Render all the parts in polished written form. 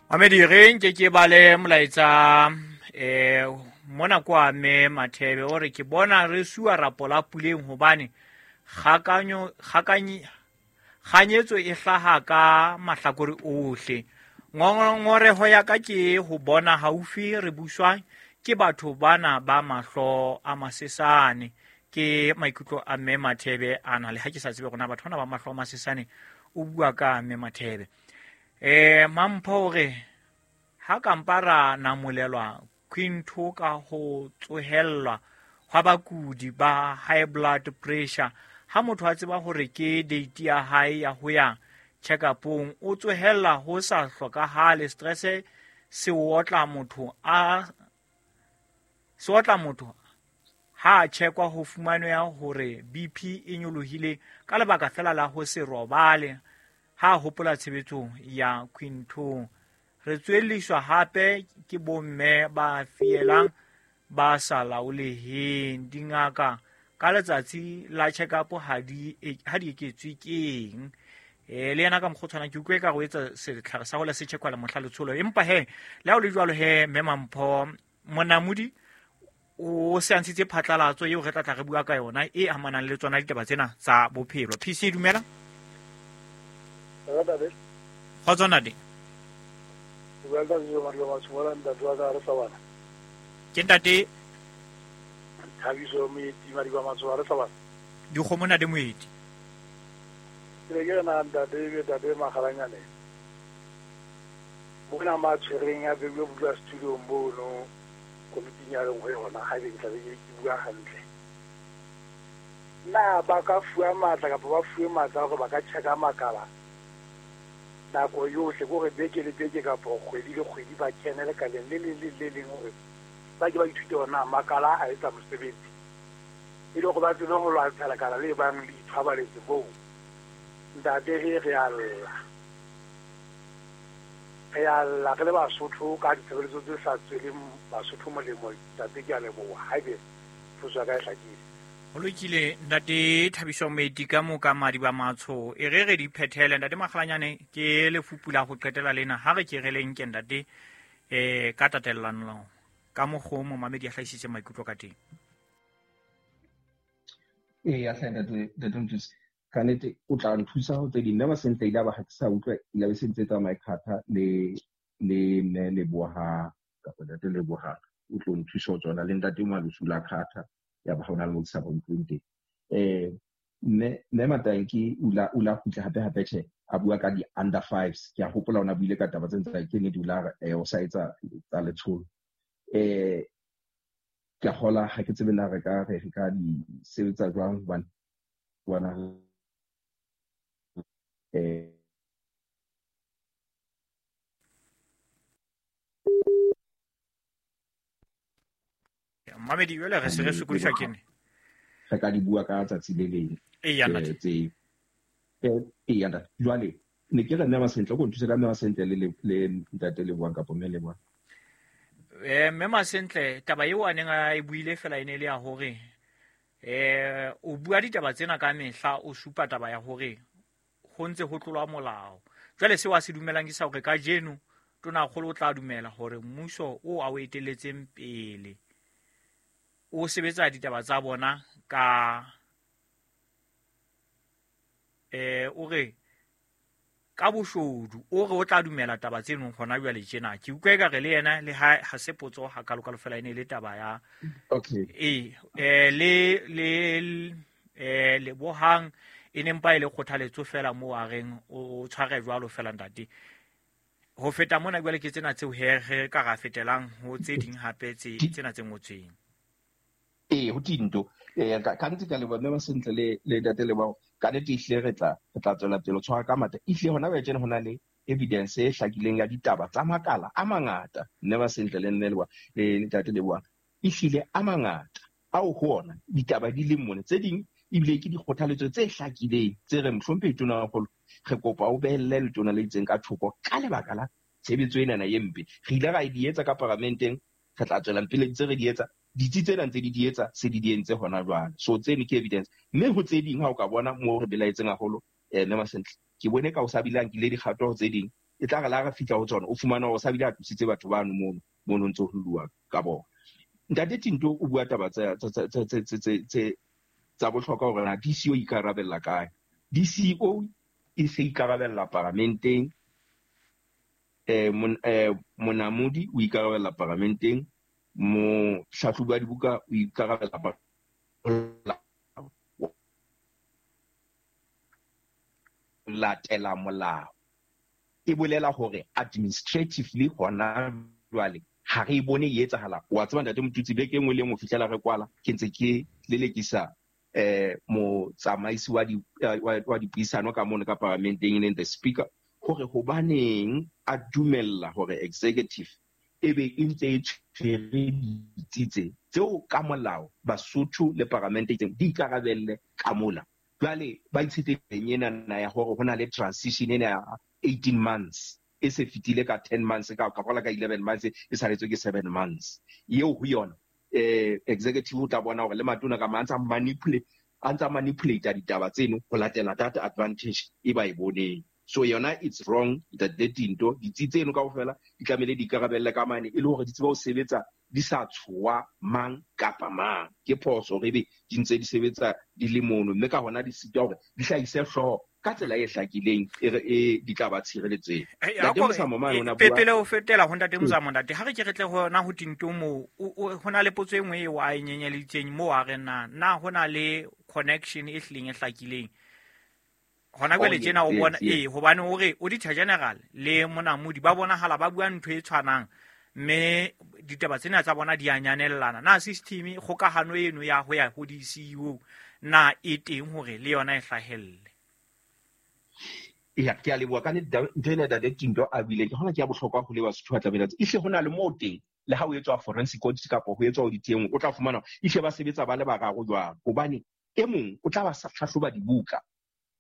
Mamedi re nke ke bale molaetsa mona kwa mme Mathebe o re ke bona re suwa rapola puleng hobane kganyetso e hlaha ka mahlakore ohle. Ngongoreho ya ka ke ho bona haufi re buswa ke batho bana ba mahlo a masesane. Ke maikutlo a mme Mathebe ana, le ha ke sa tsebe rona batho bana ba mahlo a masesane o bua ka mme Mathebe. Mampho o re ha kampa ra namolelwa quinto ka ho tsohellwa hwa bakudi ba high blood pressure. Ha motho a tseba hore ke date ya hae ya ho ya check-upong, o tsohella ho sa hlokahale. Stress se otla motho ha a checkwa ho fumaneha hore BP e nyolohile ka lebaka fela la ho se robale ha hopola tshebetso ya quintong. Re tswelliswa hape ke bomme ba fielang ba sa laoleheng. Dingaka ka letsatsi la check-up ha di eketswe keng. Le yena ka mokgwa o tshwanang ke utlwe ka go etsa setlhare sa go le se checkwa le mohla letsholo. Empa he le ha o le jwalo he mme Mampho Monamodi o se a ntshitse phatlalatso eo re tla tla re bua ka yona e amanang le tsona ditaba tsena tsa bophelo. PC dumela. Kgotso ntate. Ke ntate Thabiso Moeti Madiba Matsoa re sa. Dikgomo ntate Moeti. Ke re ke na ntate be ntate Makgalanyane. Bona ma tshwereng a bewe bua studio mono komiting ya leng ho yona ha be ke tla be ke bua hantle. Na ba ka fuwa matla kapa ba fuwe matla hore ba ka checka makala nako yohle, gore beke le beke kapa kgwedi le kgwedi ba kene lekaleng le leng le le leng hore ba ke ba ithute hore na makala a etsa mosebetsi, e le hore ba tsebe ho lwantsha lekala le bang le ithwabaletse moo. Ntate he re a lla, re le Basotho ka ditshebeletso tse sa tsweleng Basotho molemo. Ntate ke a leboha haebe potso ya ka e hlakile. Ho lokile ntate Thabiso Moeti ka moka Madiba Matsho. E re re di phethele ntate Makgalanyane, ke lefupu la ho qetela lena. Ha re ke re le nke ntate ka tatellano ka mokgwa o momamedi a hlahisitse maikutlo ka teng. Eya hle ntate Mthuse, ka nnete o tla nthusa ho tse ding. Mme Masentle ile a ba ha ke sa utlwa, ile be se ntse tsamaya khatha le mme Leboha kapa ntate Leboha o tlo nthusa ho tsona le ntate Malusu la khatha ya ba ha ona le mo ke sa ba utlweng teng. Mme Matanki o la kgutla hape hape tjhe a bua ka di-under fives. Ke a hopola ona buile ka taba tse ntse ke nnete o la re o sa etsa tsa letsholo. Ke a kgola ha ke tsebe na re ka re ka di sebetsa jwang hobane bona Mamedi jwale re se re sokodiswa ke ne re ka di bua ka tsatsi le leng. Eya ntate. Eya ntate. Jwale ne ke re mme Masentle ko nthuse ka mme Masentle le ntate Lebohang kapa mme Lebohang. Mme Masentle taba eo a neng a e buile fela e ne le ya hore o bua ditaba tsena ka mehla, o supa taba ya hore ho ntse ho tlolwa molao. Jwale seo a se dumelang ke sa hore kajeno Tonakgolo o tla dumela hore mmuso o a o etelletseng pele o sebetsa ditaba tsa bona ka o re ka boshodu, o re o tla dumela taba tseno hona jwale tjena. Ke utlwa ekare le yena le ha se potso ha kalokalo fela e ne le taba ya okay. Le Lebohang e ne mpa e le kgothaletso fela moo a reng o tshware jwalo fela ntate. Ho feta mona jwale ke tsena tseo he re ka ra fetelang ho tse ding hape tse tsena tse ngotsweng. Ho tinto. Ka nnete ka leboha mme Masentle le ntate Lebohang. Ka nnete ehlile re tla tswela pele ho tshwara ka matla. Ehlile hona jwale tjena ho na le evidence e hlakileng ya ditaba tsa makala a mangata. Mme Masentle le mme Lebohang le ntate Lebohang. Ehlile a mangata ao ho ona ditaba di leng mona. Tse ding ebile ke dikgothaletso tse hlakileng tse reng mohlomphehi Tonakgolo re kopa o behelle letona le itseng ka thoko ka lebaka la tshebetso enana e mpe. Re ile ra di etsa ka paramenteng, re tla tswela pele ntse re di etsa. Ditsi tsena ntse di di etsa se di di entse hona jwale. So tseno ke evidence. Mme ho tse ding ha o ka bona moo re belaetseng haholo mme Masentle, ke bone ka o sa bile a nkile dikgato ho tse ding. E tla re la re fihla ho tsona o fumana hore sa bile a tlositse batho bano mono mono ntse ho lluwa ka bona. Ntate Tinto o bua taba tsa tsa bohlokwa hore na DCO ikarabella kae. DCO e se ikarabella paramenteng, monamodi o ikarabella paramenteng, mohlahlobi wa dibuka o ikarabella latela molao. E bolela hore administratively hona jwale ha re bone e etsahala. Wa tseba ntate Motutsi, beke e nngwe le nngwe fihlela re kwala ke ntse ke lelekisa motsamaisi wa dipuisano ka mono ka paramenteng, e leng the speaker, hore hobaneng a dumella hore executive e be e ntse e tshwere ditsi tse tseo ka molao Basotho le paramente itseng di ikarabelle ka mola. Jwale ba itshetlehileng ena ya hore ho na le transition ena ya 18 months e se fetile ka 10 months ka ka ka 11 months e saletswe ke 7 months eo ho yona executive o tla bona hore le matona ka mang a ntsa manipulate ditaba tseno ho latela data advantage e ba e boneng. So yona it's wrong that the Tinto ditsi tseno kaofela di tlamehile di ikarabelle ka mane e le hore di tsebe ho sebetsa di sa tshowa mang kapa mang. Ke phoso hore ebe di ntse di sebetsa di le mono, mme ka hona di sitwa hore di hlahise hlooho ka tsela e hlakileng e di tla ba tshireletseng. Ntate Mosamo mane o na bua pele o fetela ho ntate Mosamo, ntate ha re ke re tle hona ho Tinto moo ho na le potso e nngwe eo a e nyenyeleditseng moo a re na ho na le connection e hlileng e hlakileng hona jwale tjena o bona hobane o re Auditor General le monamodi ba bonahala ba bua ntho e tshwanang mme ditaba tsena tsa bona di a nyanellana. Na system kgokahano eno ya ho ya ho di-CEO na e teng hore le yona e hlahelle? Ya, ke a leboha ka ntho ena ntate Tinto a buileng, ke hona ke ya bohlokwa ho le Basotho ba tlamehile. Ehle ho na le moo teng le ha o etswa forensic audit kapa ho etswa audit e nngwe, o tla fumana ehle ba sebetsa ba le bararo jwang, hobane e mong o tla ba sa hlahloba dibuka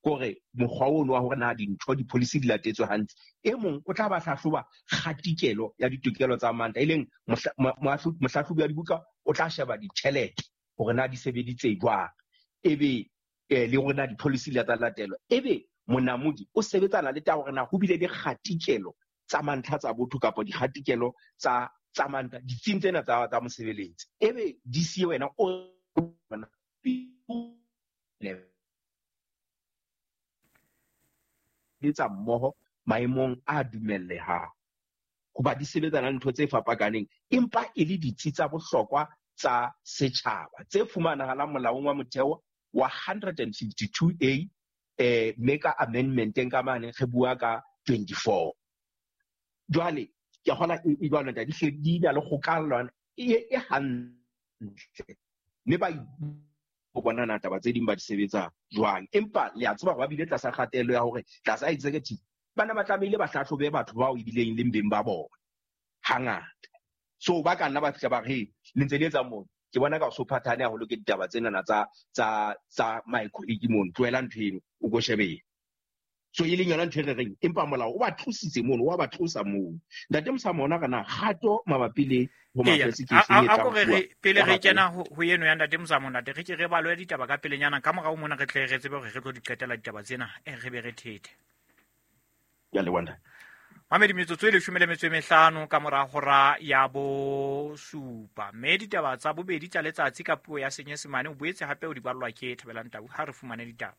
kore mokgwa ono wa hore na dintho di-policy di latetswe hantle. E mong o tla ba hlahloba kgatikelo ya ditokelo tsa manta, e leng mohlahlobi wa dibuka o tla sheba ditjhelete hore na di sebeditse jwang, ebe le hore na di-policy di tla latelwa. Ebe monamodi o sebetsana le taba hore na ho bile le kgatikelo tsa mantlha tsa botho kapa dikgatikelo tsa manta ditsing tsena tsa mosebeletsi. Ebe DC wena o tsa mmoho maemong a dumellehang, hoba di sebetsana le ntho tse fapakaneng, empa e le ditsi tsa bohlokwa tsa setjhaba tse fumanahalang molaong wa motheo wa 152A, mme ka amendmenteng ka mane re bua ka 24. Jwale ke kgona e jwalo ntate, di di na le kgokahano e hantle, mme ba ho bona na taba tse ding ba di sebetsa jwang. Empa le a tseba hore ba bile tlasa kgatello ya hore tlasa executive bana ba tlamehile ba hlahlobe batho bao ebileng leng beng ba bona hangata. So ba ka nna ba fihla ba re le ntse le etsa mono, ke bona ka o so phathane haholo ke ditaba tsenana tsa my colleague mono, tlohela ntho eno o ko shebeng. So e leng yona ntho e re reng, empa molao o ba tlositse mono, wa ba tlosa mono. Ntate Mosamo ona re na kgato mabapi le a ko re pele re kena ho eno ya ntate Mosamo, ntate re ke re balwe ditaba ka pelenyana ka morao mona re tle re tsebe hore re tlo di qetela ditaba tsena, re be re thethe. Ya le wanda. Mamedi, metsotso e 15 ka mora hora ya 7. Mme ditaba tsa bobedi tsa letsatsi ka puo ya Senyesemane o boetse hape o di ballwa ke Thabelang Tau. Ha re fumane ditaba.